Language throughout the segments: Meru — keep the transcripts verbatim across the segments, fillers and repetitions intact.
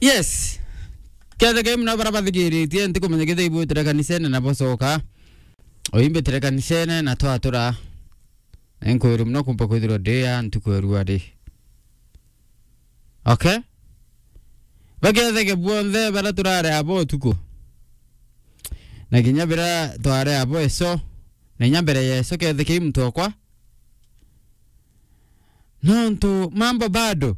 Yes. Kethe kei muna bara bathikiritie, ntikumenya kethe ibwitire kanisene na bocoka. Oimbitire kanisene na twatura. Enkwiri muna kumpa kwithirwa ndi ya ntuku ya ruari. Okay? Baketheke bwonthe bara turare abo utuku. Na kinya bira tware abo eso. Na inya mbere ya eso kethe kei muntu okwa. Nontu mambo bado.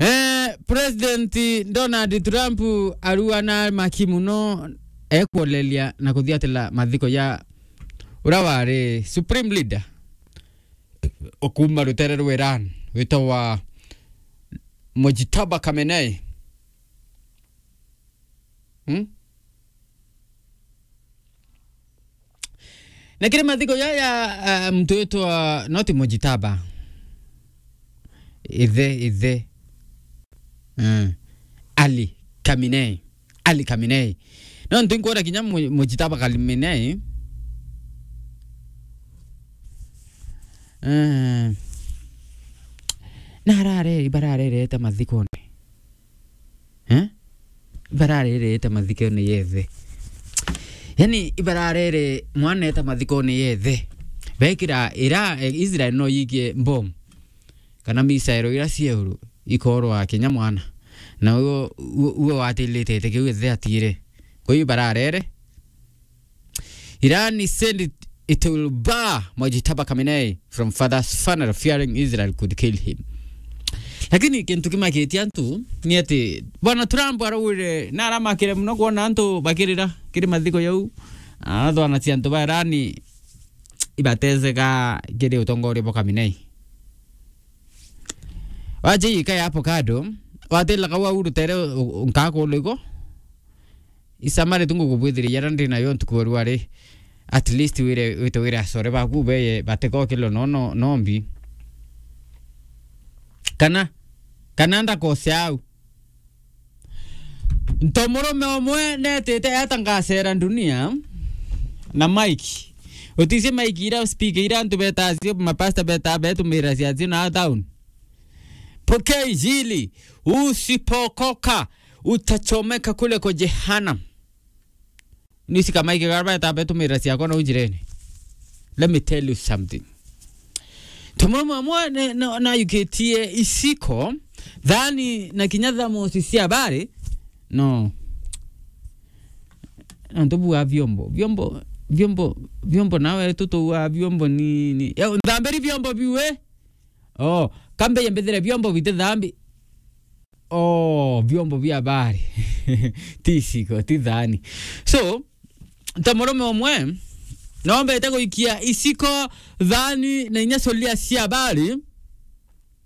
Eh, President Donald Trump arua na maki muno ekwoleria na kuthiatira mathiko ya ura wari Supreme Leader ukuma rutere rwa Iran witagwa Mojtaba Khamenei. Hmm? Na kiri mathiko jaya, ah, muntu witwa, not Mojtaba. Ithe, ithe. Mm. Ali Khamenei. Ali Khamenei. No ntu nkwona kinya Mo-, Mojtaba Khamenei. Eh. Na arare, ibararerete mathikone. Eh? Ibararerete mathikone yethe. Yani, ibararere mwana eta mathikone yethe. Bekira ira, eh, Israel no yikie bomb. Kana misaero ira cieuru ikorwa kinya mwana. Na uo, uo, uo watilitete kiu ethe atire. Kwa hiyo ibararere. Iran said it, it will bar Mojtaba Khamenei from father's funeral, fearing Israel could kill him. Lakini kintu kimakitie antu ni ati Bwana Trump araugire na aramakire muno kwona antu bakirira kiri mathiko jau. Arathwanacia antu ba Iran ibateseka kiri utongoria bwa Khamenei. Waje ika ya avocado, watila kau au rutere u-, u-, nkakulu iko. Isamari tu ngugubwithiria jara ndi nayo ntuku ya ruari. At least wire, wite wire acore baku beye batikokilwe no, no, no mbi. Kana, kana ndakose au. Ntomurume umwe netite eta ngacera dunia na mike. Utisi mike ira speaker ira antu betacio, mapasta beta betumira ciacio na town. Pokea injili, usipokoka, utachomeka kule kwa jehanamu. Nisi kamaike garba eta betumira ciakwa na ujirene. Let me tell you something. Tomurume umwe ne, no, na yukitie iciko, thani na kinya thamosi cia bari, no. Na tubua vyombo, vyombo, vyombo, vyombo nawe tutuua vyombo ni, ni. Ya, nthambiri vyombo biu, eh? Oh, kambe yembethire vyombo biti thambi. Oh, vyombo vya bari. Ti iciko, ti thani. So, ta murume umwe, nombete guikia iciko, thani, na inya sufuria cia bari,